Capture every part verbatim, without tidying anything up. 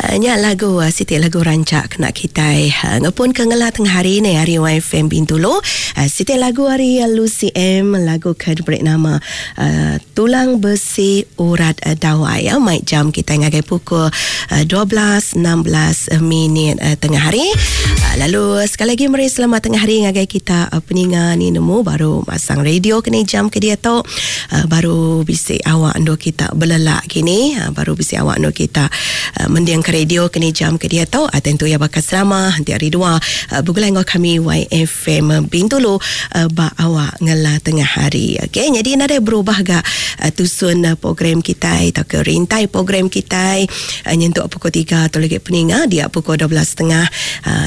Nya lagu siti lagu rancak kena kitai ngepun ke ngela tengah hari ni hari Y F M Bintulu. Siti lagu hari Lucy M, lagu ke diberi nama uh, Tulang Besi Urat Dawai ya. Mai jam kita ngagai pukul dua belas enam belas minit tengah hari. Lalu sekali lagi meri selamat tengah hari ngagai kita peninga ni nemu baru masang radio kini jam ke dia tu baru bisi awak ndo kita belelak kini, baru bisi awak ndo kita mendiang ke radio kini jam ke dia tu. Tentu ya bakal selama nanti hari dua bergulai dengan kami Y F M Bintulu ba awak ngela tengah hari. Okey, jadi nadai berubah gak tusun program kita atau ke rintai program kita nyentuk pukul tiga atau lagi peninga dia pukul dua belas setengah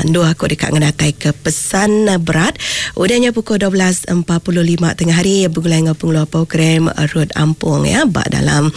dua aku dekat ngenatai ke pesan berat. Udahnya pukul dua belas empat puluh lima tengah hari bergulai dengan pengeluar program Rod Ampung ya bak dalam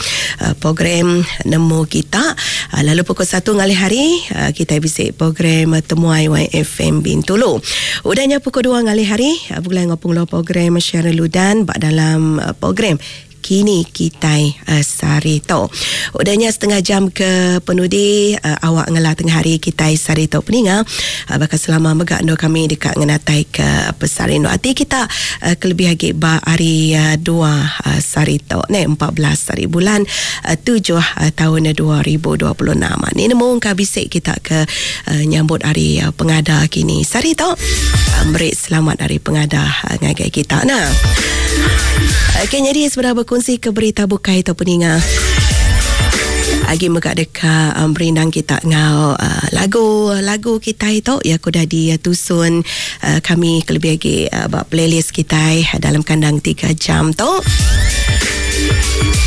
program nemu kita. Lalu pukul satu ngalih hari kita bisa program Temuai Y F M Bintulu. Udahnya pukul dua ngalih hari bergulai dengan pengeluar program Sharon Ludan bak dalam program Kini Kitai uh, Sarito. Udahnya setengah jam ke penudi uh, awak ngelah tengah hari Kitai Sarito peninga uh, bakal selama megak ndo kami dekat ngenatai ke pesarin hati kita uh, kelebih lagi ba hari uh, dua uh, Sarito ne empat belas hari bulan uh, tujuh uh, tahun dua ribu dua puluh enam. Ni nemu ka bisik kita ke uh, nyambut hari uh, pengada kini Sarito. Uh, beri selamat hari pengada uh, ngagai kita nah. Okey, jadi sebenarnya berkongsi ke berita bukai atau peninga. Agi megak dekat um, berindang kita ngau uh, lagu-lagu kita itu ya aku dah ditusun uh, kami kelebih lagi uh, buat playlist kita dalam kandang tiga jam tu.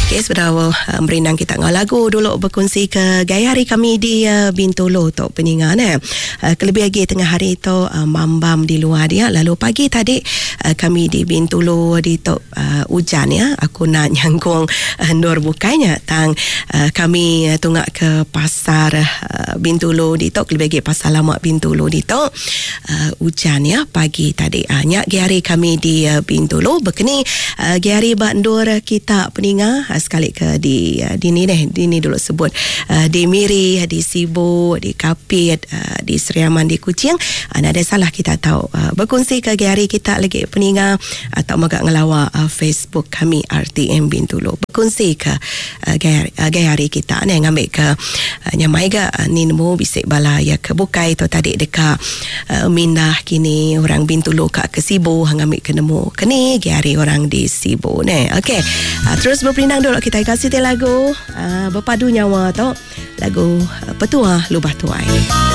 Okey, sebenarnya uh, berindang kita ngau lagu dulu berkongsi ke gaya hari kami di uh, Bintulu tu peninga ne. Uh, kelebih lagi tengah hari tu uh, mambam di luar dia. Lalu pagi tadi uh, kami di Bintulu di tu uh, hujan ya. Aku nak nyangkung uh, nur bukainya tang uh, kami uh, tungak ke pasar uh, Bintulu di tu kelebih lagi pasar lama Bintulu di tu uh, hujan ya pagi tadi. Uh, nyak gaya hari kami di uh, Bintulu berkeni uh, gaya hari bandur kita peninga sekali ke di di ni deh di ni dulu sebut uh, di Miri, di Sibu, di Kapit, uh, di Seriaman, di Kuching. Uh, ada salah kita tahu uh, berkongsi ke hari kita lagi peninga atau megak ngelawa uh, Facebook kami R T M Bintulu. Berkongsi ke uh, gaya, uh, gaya hari kita ni ngambil ke uh, nyamai ga uh, ni nemu bisik bala ya ke bukai tu tadi dekat uh, mindah kini orang Bintulu kat ke Sibu ngambil ke nemu kini gaya hari orang di Sibu ni. Okey, uh, terus berperindang dulu kita kasih te lagu uh, berpadu nyawa tu lagu uh, Petua Lubah Tuai.